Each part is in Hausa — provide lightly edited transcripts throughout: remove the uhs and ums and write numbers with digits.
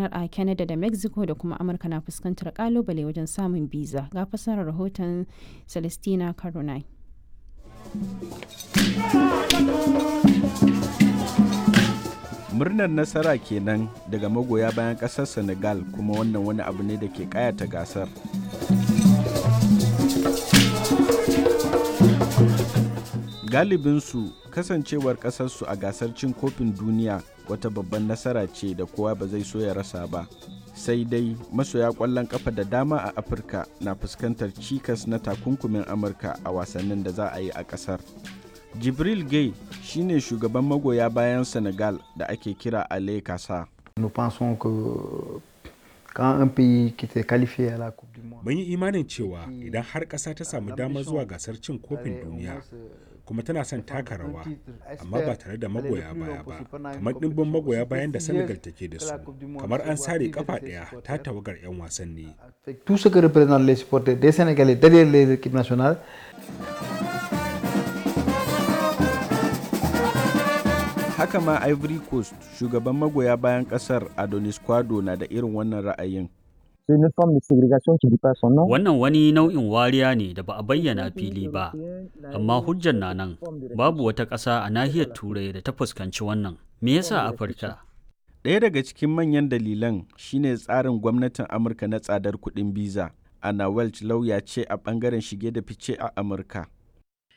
gudanar a Canada da Mexico da kuma Amurka na fuskantar kalubale wajen samun biza. Ga fasarar rahoton Celestina Caronai. Murnar nasara kenan daga magoya bayan kasar Senegal, kuma wannan wani abu ne da ke kayata gasar. Galibinsu kasancewar kasarsu a gasar cin kofin duniya wata babban nasara ce da kowa ba zai so ya rasa ba. Sai dai masoya kwallon kafa da dama a Afirka na fuskantar cikas na takunkumin Amurka a wasannin da za a yi a kasar. Jibril Gay shine shugaban magoya bayan Senegal da ake kira Ale Kasa. Mun yi imanin cewa idan har ƙasa ta samu damar zuwa gasar cin kofin duniya kuma tana son taka rawa, amma ba tare da magoya baya ba kamar ɗimbin magoya bayan da Senegal take da su, kamar an sare kafa ɗaya ta tawagar 'yan wasanni. Haka ma Ivory Coast, shugaban magoya bayan kasar Adonis Kwado na da irin wannan ra'ayin. Wannan wani nau'in wariya ne da ba a bayyana fili ba, amma hujjar na nan, babu wata ƙasa a nahiyar Turai da ta fuskanci wannan. Me yasa Afirka? Ɗaya daga cikin manyan dalilan shine tsarin gwamnatin Amurka na tsadar kuɗin biza. Ana Welch lauya ce a ɓangaren shige da fice a Amurka.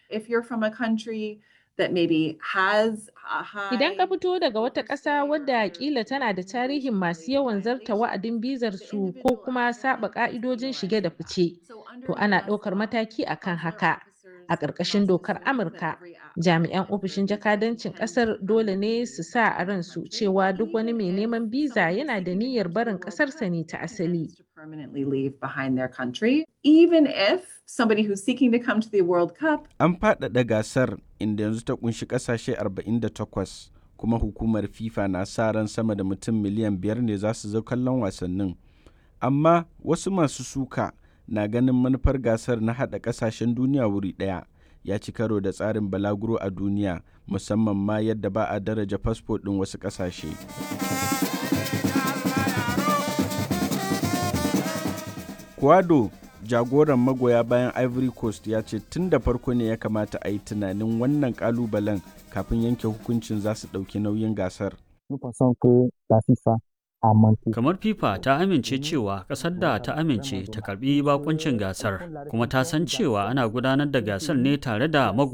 If you're from a country that maybe has a high. Idan ka fito daga wata ƙasa wadda kila tana da tarihin masu yawan zarta wa'adin bizar su ko kuma saba ƙa'idojin shige da fice, to ana ɗaukar mataki akan haka. A ƙarƙashin dokar Amurka, jami'an ofishin jakadancin ƙasar dole ne su sa a ransu cewa duk wani mai neman biza yana da niyyar barin ƙasarsa ne ta asali. Permanently leave behind their country, even if somebody who's seeking to come to the World Cup. An faɗaɗa gasar inda yanzu ta kunshi ƙasashe 48, kuma hukumar FIFA na sa ran sama da mutum miliyan 5 ne za su zo kallon wasannin. Amma wasu masu suka na ganin manufar gasar na haɗa ƙasashen duniya wuri ɗaya ya ci karo da tsarin balaguro a duniya, musamman ma yadda ba a daraja fasfo ɗin wasu ƙasashe. Kwado, jagoran magoya bayan Ivory Coast, ya ce tun da farko ne ya kamata a yi tunanin wannan kalubalen kafin yanke hukuncin za su ɗauki nauyin gasar. Kamar FIFA ta amince cewa ƙasar da ta amince ta karbi bakuncin gasar, kuma ta san cewa ana gudanar da gasar ne tare da magoya